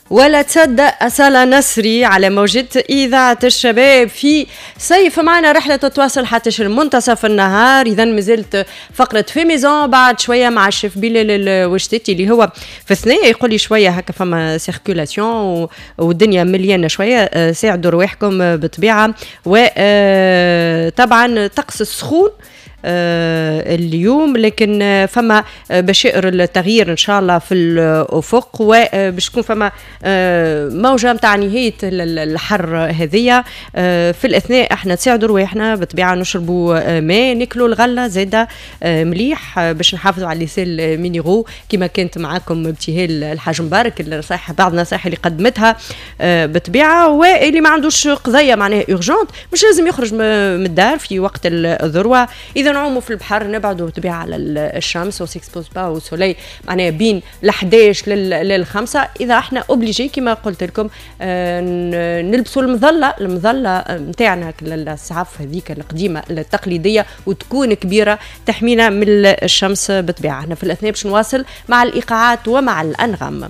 ولا تصدق، أصالة نصري على موجة إذاعة الشباب في صيف معنا. رحلة تتواصل حتى منتصف النهار. إذا مازلت فقرة fait maison بعد شوية مع الشيف بلال الوشتاتي اللي هو في الثنية، يقول لي شوية هكا فما circulation والدنيا مليانة شوية. ساعدوا رواحكم بالطبيعة، وطبعا طقس السخون اليوم، لكن فما بشائر التغيير ان شاء الله في الافق، وباش تكون فما موجه نتاع نهاية الحر هذيا. في الاثناء احنا نساعدوا رواحنا بالطبيعه، نشربوا ماء، ناكلوا الغلة زاده مليح باش نحافظوا على les sels minéraux، كما كانت معاكم ابتهال الحاج مبارك، النصائح، بعض النصائح اللي قدمتها بالطبيعه. واللي ما عندوش قضية معناها urgente مش لازم يخرج من الدار في وقت الذروه. اذا نعوموا في البحر نبعدوا بالطبيعة على الشمس، on s'expose pas au soleil معناها بين ال 11 لل5. اذا احنا obligé كما قلت لكم نلبسوا المظله، المظلة نتاعنا السعف هذيك القديمة التقليديه، وتكون كبيرة تحمينا من الشمس بالطبيعه. احنا في الاثناء باش نواصل مع الايقاعات ومع الانغام.